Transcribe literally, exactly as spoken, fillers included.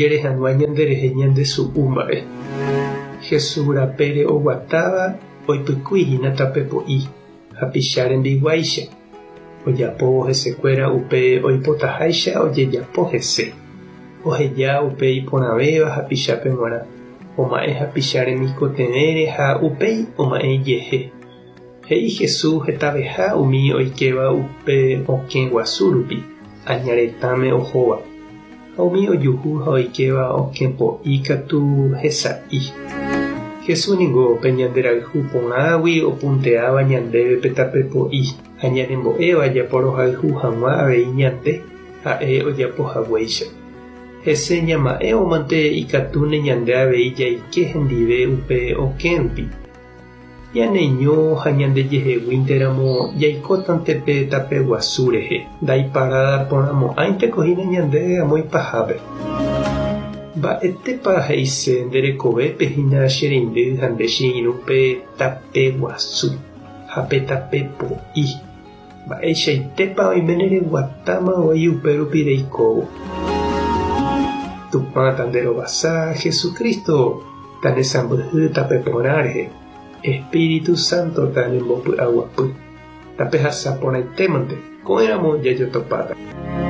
Jere hag̃ua ñanderehe ñandesu'u mba'e. Jesús rapére oguatáva oipykuihína tape po'i hapicha rembiguáicha ojapóvo hesekuéra upe oipotaháicha ojejapo hese. Oheja upe iporãvéva hapichápe g̃uarã oma'ẽ hapicha remikotevẽre ha upéi oma'ẽ ijehe. He'i Jesús hetaveha umi oikéva upe okẽ guasu rupi aña retãme ohóva ha umi ojuhu ha oikéva okẽ po'i katu hesa'i. Jesús ningo pe ñanderayhu porãgui opunteáva ñandéve pe tape po'i ha ñanembo'éva japorohayhu hag̃ua avei ñande ha'e ojapohaguéicha. Hese ñama'ẽvomante ikatúne ñande avei jaike hendive upe okẽ rupi. Ñaneño ha ñandejeheguínteramo jaikótante pe tape guasu rehe ndaiparada porãmo'ãinteko hína ñandéve amo ipahápe. Mba'etépa he'ise nderekovépe hína che reindy ha nde che irũ pe tape guasu ha pe tape po'i. Mba'eichaitépa oiméne reguatáma voi upérupi reikóvo. Tupã tanderovasa Jesucristo tanesãmbyhy tape porã rehe. Espíritu Santo tanembopy'aguapy. Tapehasa porãitémante ko'ẽramo jajotopáta.